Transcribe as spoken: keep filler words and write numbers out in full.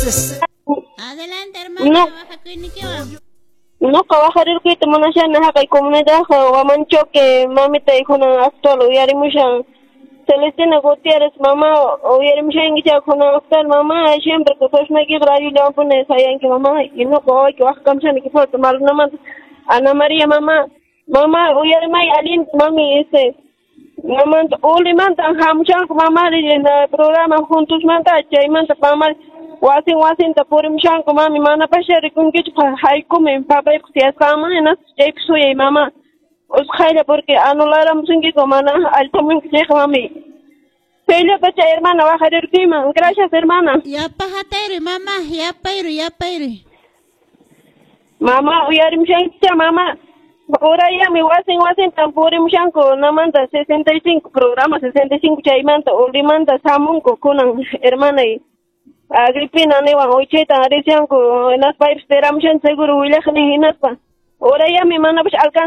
Adelante, hermana, No. waqakuynikiwan. Nuqa waqarirquyta munashani haqay comunidad Huamanchoque mamita kunan actual uyarimushan Celestina Gutiérrez mama uyarimushanki chay kunan actual mama siempre que sosnaykiqa radiollawanpuni sayanki mama y nuqa wawayki waqkamshani fuerte malunamanta Ana María mama mama uyarimay allinta mami ese mamanta ulimanta hamushanku mama programa juntosmanta chaymanta mama wasin wasinta purimushanku mami manapascha rikunkichu haykumi papaypaq tiyasqanman hinaspa chaypi suyay mama usqhaylla porque anularamusunkiku mana allpamunki chayqa mami chayllatacha hermana waqarirkuyman. Gracias, hermana. Yapa hatayruy, mama, yapayruy, yapayruy. Mama uyarimushankicha mama urayami wasin wasintan purimushanku namanta sesenta y cinco programa sesenta y cinco chaymanta ulimanta samunku kunan hermanay Agripina niwan uchaytan rishanku hinaspa paypis tiramushan seguro willaqnin hinaspa urayami manapash alcanza.